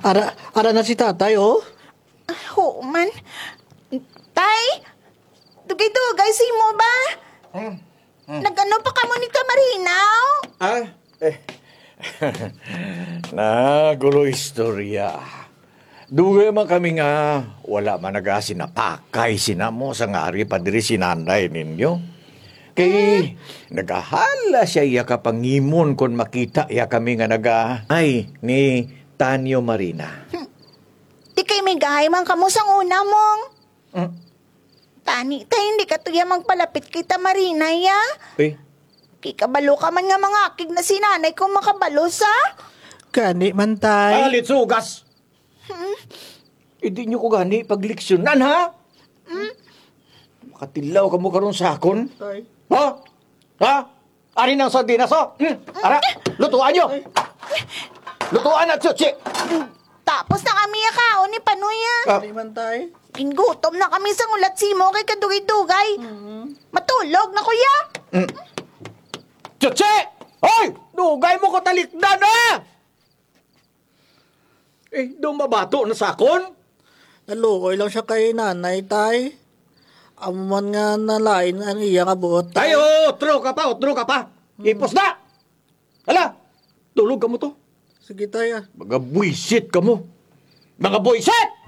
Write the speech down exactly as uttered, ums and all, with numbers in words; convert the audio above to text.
Ara, ara na si tatay, o. Ah, human. Tay, dugay-dugay sa imo ba? Hmm. Hmm. Nag-ano pa kamo ni Tya Marina, o? Ah, eh. Nagulo istorya. Dugay man kami nga wara man naga-, sinapakay sina mo sa nga ari pa diri si nanay ninyo. Kay nagahala siya iya kapangimon kon makita iya kami nga naga-, ay, ni Tanyo Marina. Hmm. Ti kay migahay man kamo sang una, Mong. Hmm. Tani, tay, indi kato iya magpalapit kay Tya Marina, ya. Eh? Kay kabalo ka man nga mangakig na si nanay kon makabalo sa. Gani man, tay. Alit sugas! Hmm? Indi nyo ko gani pagleksyonan, ha? Hmm? Makatilaw kamo karon sa akon? Tay. Ha? Ha? Ari na ang sardinas, o. Hmm, ara, lutuan nyo. Lutuan na, Chuchi. Tapos na kami ya kaon ni Panoy, a. Ah. Di man, tay. Gingutom na kami sang hulat sa imo kay kadugay-dugay. Mm. Matulog na ko ya. Hmm. Chuchi! Hoy! Dugay mo ko talikdan, a! Eh, daw mabato na sa akon? Naluoy lang siya kay nanay, tay. Amo man nga nalain ang iya nga buot, tay. Ay, oo, utro ka pa, utro ka pa. Hmm. Ipos na! Hala, tulog kamo to. Sige, tay, a. Mga buwisit kamo. Mga buwisit!